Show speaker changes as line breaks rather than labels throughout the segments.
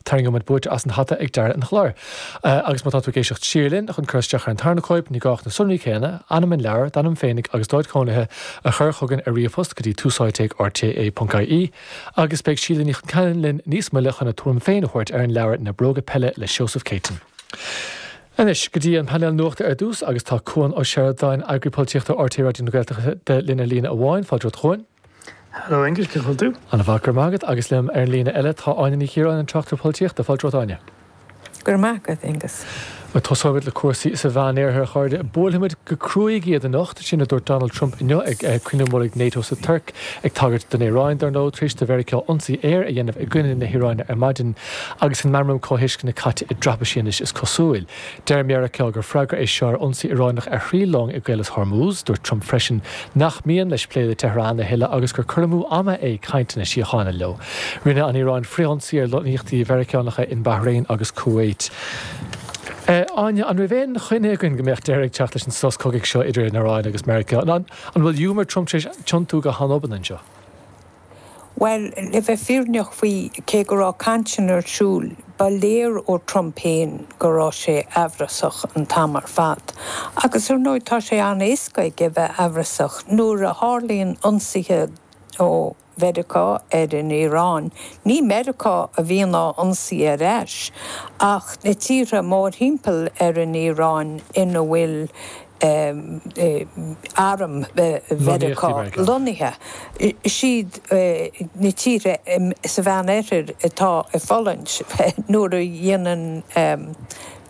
Tarraingeoidh muid buaiteoir as an hata ag deireadh an chláir. Agus má tá tú ag éisteacht siar linn chun cur isteach ar an tarna cóip, ní gá ach na sonraí céanna, ainm an leabhair, d'ainm féinig agus d'áit chónaithe, a chur chugainn ar ríomhphost go dtí túsáite ag rte.ie. Agus beidh Síle Ní Chonceanainn linn níos moille chun a tuairim féin a thabhairt ar an leabhar Na Bróga Peile le Seosamh Céitinn. Anois, go dtí an painéal nuachta ar dtús agus tá Cuan Ó Seireadáin, Eagraí Polaitíochta RTÉ Raidió na Gaeltachta linn ar líne amháin. Fáilte romhat a Chuain.
Hello Aengus, cén chaoi a bhfuil tú?
An-mhaith, go raibh maith agat. Agus liom ar an líne eile tá Áine Ní Chiaráin, an tráchtaire polaitíochta. Fáilte romhat Áine.
Go raibh maith agat, Aengus.
Tosóimid le cúrsaí sa Mheánoirthear, a chairde. Buailfimid go cruaidh iad anocht, sin a dúirt Donald Trump inniu ag cruinniú mullaigh NATO sa Tuirc, ag tagairt don Iaráin, dar ndóigh, tar éis do Mheiriceá ionsaí aeir a dhéanamh i gcoinne na hIaráine ar maidin agus an Meamram Comhthuisceana caite i dtraipisí anois is cosúil. Deir Meiriceá gur freagra é seo ar ionsaí Ioránach ar thrí long i gCaolas Hormuz. Dúirt Trump freisin nach mian leis plé le Tehran a thuilleadh agus gur cur amú ama é cainteanna síochána leo. Rinne an Iaráin frithionsaí ar lonnaíochtaí Mheiriceánacha in Bahrain agus Kuwait. Áine, an raibh aon choinne againn go mbeadh deireadh ag teacht leis an sos cogaidh seo idir an Iaráin agus Meiriceá? An bhfuil giúmar Trump tar éis tiontú go han-obann anseo?
Bhuel, le bheith fírinneach faoi, cé go raibh cainteanna ar siúl, ba léir ó Trump féin go raibh sé aimhreasach an t-am ar fad. Agus ar ndóigh tá sé an-éasca aige bheith aimhreasach nuair a tharlaíonn ionsaithe ó Mheiriceá ar an Iaráin. Ní Meiriceá a bhíonn á ionsaí ar ais, ach na tíortha mórthimpeall ar an Iaráin ina bhfuil arm Mheiriceá lonnaithe. Is iad na tíortha sa Mheánoirthear atá ag fulaingt nuair a dhéanann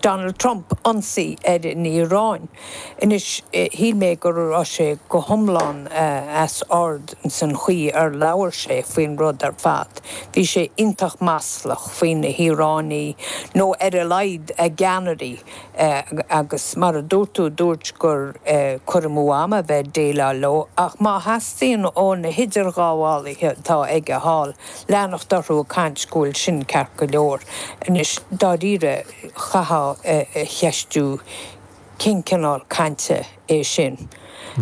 Donald Trump ionsaí ar an Iaráin. Anois, shíl mé go raibh sé go hiomlán as ord ins an chaoi ar labhair sé faoin rud ar fad. Bhí sé iontach maslach faoi na hIaránaigh, nó ar a laghad a gceannairí, agus mar a dúirt tú, dúirt gur cur amú ama a bheith ag déileáil leo, ach má theastaíonn ó na hidirghabhálaithe atá aige thall leanacht orthu ag caint go bhfuil sin ceart go leor. Anois, dáiríre, chaithfeá a cheistiú cén cineál cainte é sin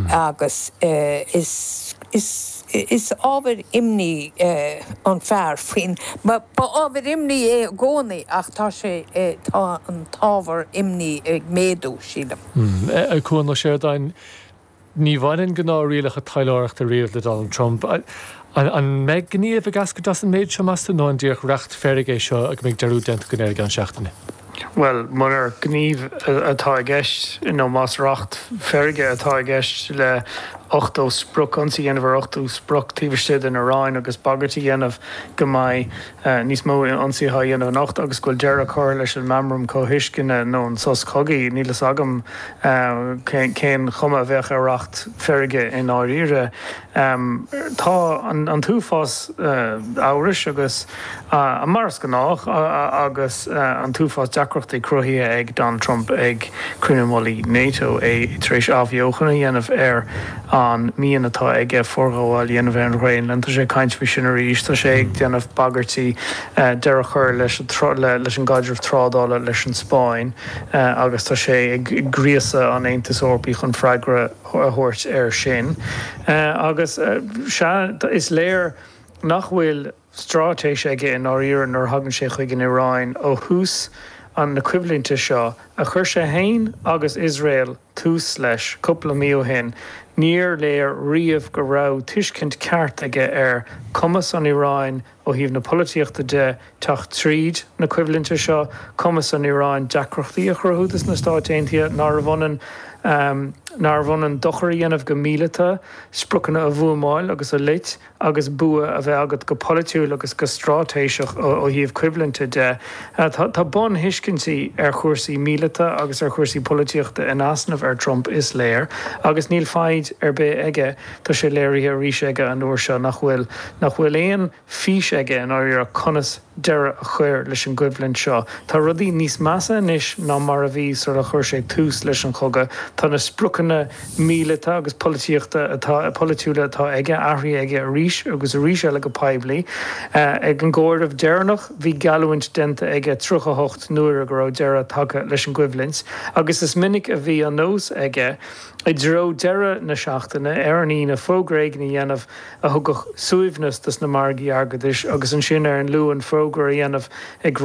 agus is is is ábhar imní an fear faoin ba ábhar imní é i gcónaí ach tá sé tá an t-ábhar imní ag méadú, sílim.
Cuan Ó Seireadáin, Ní bhaineann gnáthrialacha taidhleoireachta riamh le Donald Trump. An mbeidh gníomh ag eascairt as an méid seo, meas tú, nó an díreach racht feirge é seo go mbeidh dearúd déanta againn air i gceann seachtaine?
Bhuel, munar gníomh atá i gceist, nó más racht feirge atá i gceist le 80 sprioc, ionsaí a dhéanamh ar 80 sprioc taobh istigh den Iaráin agus bagairt a dhéanamh go mbeidh níos mó ionsaithe á dhéanamh anocht agus go bhfuil deireadh curtha leis an Meamram Comhthuisceana nó an sos cogaidh, níl fhios agam cén chuma a bheadh ar racht feirge i ndáiríre. Tá an t-uafás amhrais agus, mar is gnách, agus an t-uafás deacrachtaí cruthaithe ag Donald Trump ag cruinniú mullaigh NATO, é tar éis athbheochan a dhéanamh ar an mian atá aige forghabháil a dhéanamh ar an Ghraonlainn. Tá sé ag caint faoi sin arís. Tá sé ag déanamh bagairtí deireadh a chur leis an gcaidreamh trádála leis an Spáinn agus tá sé ag gríosadh an Aontais Eorpaigh chun freagra a thabhairt air sin. Agus sea, is léir nach bhfuil straitéis aige i ndáiríre nuair a thagann sé chuig an Iaráin ó thús na coimhlinte seo a chuir sé féin agus Iosrael tús leis cúpla mí ó shin. Níor léir riamh go raibh tuiscint ceart aige ar cumas an Iaráin ó thaobh na polaitíochta de teacht tríd na coimhlinte seo, cumas an Iaráin deacrachtaí a chruthú dos na Stáit Aontaithe, nárbh ionann nárbh ionann dochar a dhéanamh go míleata, spriocanna a bhuamáil agus a loit. agus bua a bheith agat go polaitiúil agus go straitéiseach ó thaobh coimhlinte de. Tá bunthuiscintí ar chúrsaí míleata agus ar chúrsaí polaitíochta in easnamh ar Trump, is léir, agus níl foighid ar bith aige. Tá sé léirithe arís aige an uair seo nach bhfuil nach bhfuil aon fís aige i ndáiríre conas deireadh a chur leis an gcoimhlint seo. Tá rudaí níos measa anois ná mar a bhí sular chuir sé tús leis an chogadh. Tá na spriocanna míleata agus polaitíochta atá polaitiúla atá aige athraithe aige arís agus arís eile go poiblí. Ag an gcomhaireamh deireanach bhí geallúint déanta aige 38 n-uaire go raibh deireadh tagtha leis an gcoimhlint agus is minic a bhí an nós aige i dtreo deireadh na seachtaine, ar an Aoine, fógra éigin a dhéanamh a thugadh suaimhneas dos na margaí airgeadais agus ansin ar an Luan fógra a dhéanamh ag rá.